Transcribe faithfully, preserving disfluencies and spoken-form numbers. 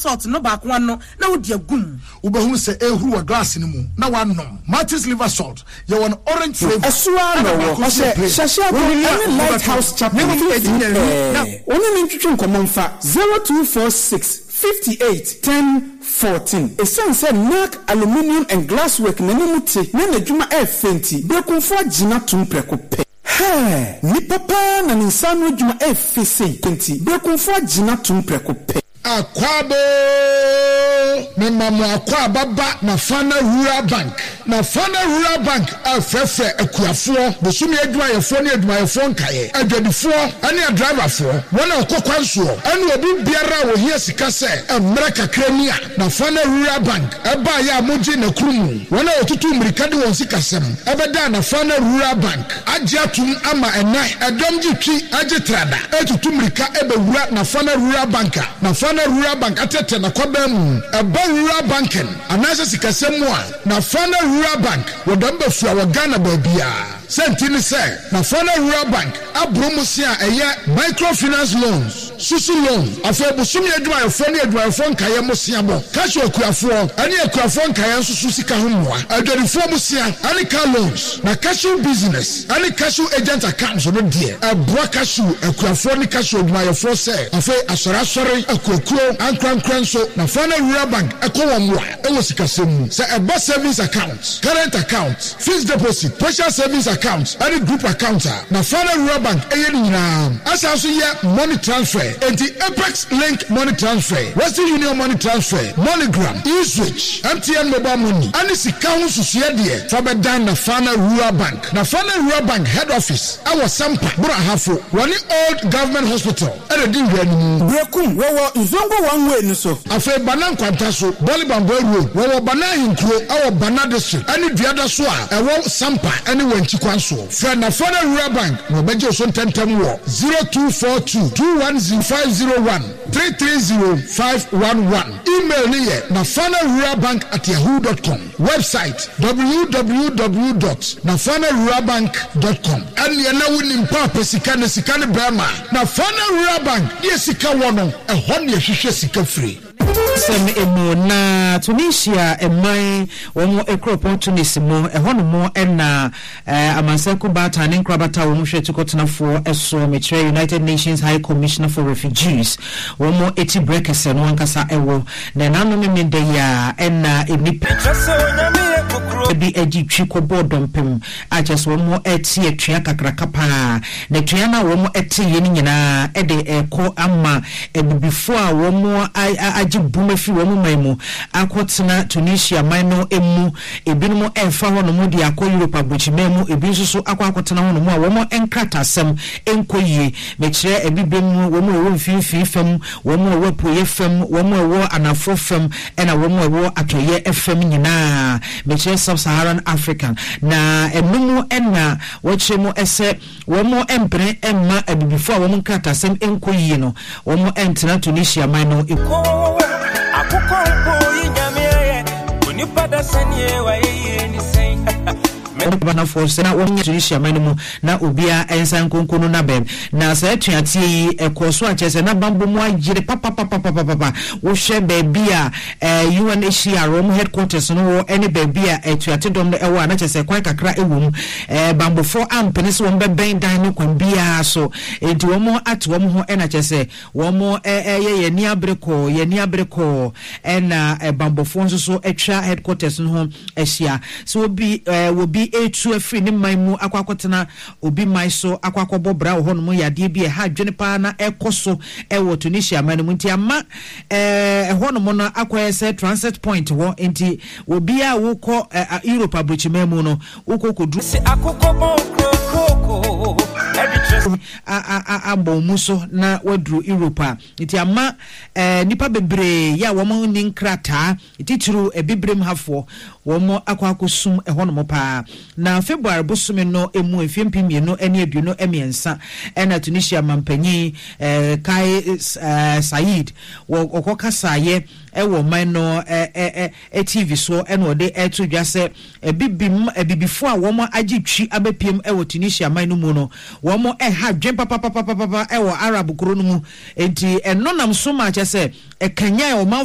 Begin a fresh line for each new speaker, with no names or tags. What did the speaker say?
Salt no baako ano na wode agu mu.
Wobɛhunu sɛ ɛrehuru wɔ glass no mu na woanom. Martin's Liver Salt, yɛwɔ no orange flavour
Ɛso ara na
ɛna
ɔwɔ.
baako nso yɛ
Ɔhyɛ
plain.
Hyɛhyɛago
Wonini a
ne Lighthouse
wobɛtɔ.
Chapel
Na mmom
mfimfini
ɛdi nnanu na
pɛɛ. Ɔne no ntwetwe nkɔmmɔ mfa zero two four six fifty eight ten fourteen. Esiane sɛ Narc Aluminium and Glasswork n'anim te na n'adwuma ɛyɛ fɛ nti, Berekumfo agye no atom prɛko pɛ. Hɛɛ! Nipa paa na ne nsa ano adwuma ɛyɛ fɛ sei nti, Berekumfo agye no atom prɛko pɛ.
Akwaaba, mema mo akwaaba ba Nafana Rural Bank. Nafana Rural Bank afrɛfrɛ akuafoɔ, bosome adwumayɛfoɔ ne adwumayɛfoɔ nkaeɛ, adwadifoɔ ne adriverfoɔ, wɔn a wɔkɔ kwan soɔ, ɛne obi biara a wɔhia sika sɛ mmerɛ kakra ni a Nafana Rural Bank ɛbaeɛ a mogye n'akuru mu. Wɔn a wɔtutu mmirika de wɔn sikasɛm ɛbɛda Nafana Rural Bank agye atom ama ɛnɛ ɛdɔm gye twi agye trada ɛtutu mmirika ɛbɛwura Nafana Rural Bank a Nafana Rural Bank atɛtɛ n'akɔbɛn mu. Ɛba rural banking anaasɛ sikasɛm mu a, Nafana Rural Bank wɔdɔm bɛfua wɔ Ghana baabiara. Sɛnti ne sɛ Nafana Rural Bank aboro mo se a ɛyɛ microfinance loans, susu loan, afei bosome adwumayɛfoɔ ne adwumayɛfoɔ nkaeɛ mo seabɔ, cashew akuafoɔ ɛne akuafoɔ nkaeɛ nso so sika ho mmoa, adwadifoɔ mo sea ɛne car loans, na cashew business ɛne cashew agent accounts no deɛ, ɛboa cashew akuafoɔ ne cashew adwumayɛfoɔ sɛ afei asɔre asɔre, akuakuo, ankorankora nso Nafana Rural Bank ɛkɔ wɔn mmoa ɛwɔ sikasɛm mu sɛ ɛba savings account, current account, fixed deposit, partial savings account ɛne group account a, Nafana Rural Bank ɛyɛ ne nyinaa. Asan so yɛ money transfer, enti Apex Link money transfer, Western Union money transfer, MoneyGram, eSwitch, M T N mobile money ɛne sika ho nsusuɛ deɛ, fa bɛdan Nafana Rural Bank. Nafana Rural Bank head office ɛwɔ Sampa Borahafo, wɔne Old Government Hospital ɛna di nwura no mu.
Berekum wɔwɔ Nzongo one way no so.
Afei Bana Nkwanta so, Bɔle Bamboa Road, wɔwɔ Bana Ahenkuro ɛwɔ Bana District ɛne Duada so a ɛwɔ Sampa ɛne Wankyi kwan soɔ. Frɛ Nafana Rural Bank na wɔbɛgye wo so ntɛmtɛm wɔ zero two four two two one zero five zero one three three zero five one one. Email ne yɛ nafana rural bank at yahoo dot com. Website w w w dot nafana rural bank dot com. Ɛneɛ na wonim paapa sika ne sika ne bɛrima Nafana Rural Bank deɛ sika wɔ no, ɛhɔ ne ɛhwehwɛ sika firi.
Sɛm emu na Tunisia ɛman wɔn kuropɔn Tunis mu ɛhɔ nom ɛna ɛɛ amansanko baatan ne nkorabata a wɔn hwɛ tukɔtenafoɔ ɛso, mekyerɛ United Nations High Commissioner for Refugees, wɔn eti brɛ kɛsɛ no ankasa ɛwɔ na ɛnanom mi da yi a ɛna nipa bi agye twi kɔbɔɔ dɔmpem a kyerɛ sɛ wɔn ɛte atua kakraka paa, na atua no a wɔn ɛte yɛ no nyinaa ɛde ɛkɔ ama abibifoɔ a wɔn agye bum afiri wɔn man mu akɔtena Tunisia man no mu. Ebinom ɛrefa hɔnom de akɔ Europe aburokyiman mu, ebi nso so akɔ akɔtena hɔnom a wɔn nkratasɛm nkɔ yie. Mekyerɛ abibire mu, wɔn a wɔwɔ mfimfini fam, wɔn a wɔwɔ apueɛ fam, wɔn a wɔwɔ anafoɔ fam, ɛna wɔn a wɔwɔ atɔeɛ fam nyinaa, mekyerɛ Sub-Saharan African. Na ɛno ɛna wɔkyerɛ mu ɛsɛ wɔn mpene mma abibifoɔ a wɔn nkratasɛm nkɔ yie no wɔn ntena Tunisia man no.
Akokɔ mpo yi Nyame ayɛ onipa da sɛneɛ wayɛ yie ne sɛn.
Banafoɔ sɛ na wɔnyɛ Tunisia man no mu na obiara nsa nkonko no nabɛm. Na saa atuateɛ yi ɛkɔɔ so akyerɛ sɛ na bambɔ mu ayere papapapapapa. Wohwɛ baabi a eh, U N H C R wɔn headquarters no wɔ ɛne baabi a atuate dɔm no ɛwɔ a, na kyerɛ sɛ kwan kakra ɛwɔ mu. eh, bambɔfoɔ ampene sɛ wɔn bɛbɛn dan no kwan biara so, nti wɔn ate wɔn ho ɛna kyerɛ sɛ wɔn ɛyɛ yɛn ani abere kɔɔ, yɛn ani abere kɔɔ, ɛna bambɔfoɔ nso so atwa headquarters no ho ahyia sɛ obi ɛɛ obi etu afiri ne man mu akɔ akɔtena obi man so akɔ akɔbɔ bra wɔ hɔnom. Yadeɛ bi ɛha adwene paa na ɛkɔ so ɛwɔ Tunisia man no mu, nti ama ɛɛ ɛhɔnom no akɔyɛ sɛ transit point hɔ, nti obiara a wokɔ ɛɛ Europe aburokyiman mu no wokɔ kɔduru
sɛ akokɔ bɔn kurokuro ɛde kyerɛ
abɔ mu so na waduru Europe a, nti ama ɛɛ nipa bebree yɛ a wɔn ni nkrataa, titiriw ebibirem hafoɔ, wɔn akɔ akɔsum ɛhɔnom paa. Na February bosome no emu mfie mpem mmienu ne aduonu mmiɛnsa ɛna Tunisia mampanyin ɛɛ Kais ɛɛ Saied wɔ ɔkɔ kasaayɛ ɛwɔ ɔman no ɛɛ ɛɛ T V so, ɛna ɔde ɛto dwa sɛ ebibim abibifoɔ a wɔn agye twi abɛpiem ɛwɔ Tunisia man no mu no, wɔn ɛha dwen papapapapapa ɛwɔ Arab kuro no mu, nti ɛno nam so ma kyɛ sɛ ɛkanyan ɔmanfoɔ.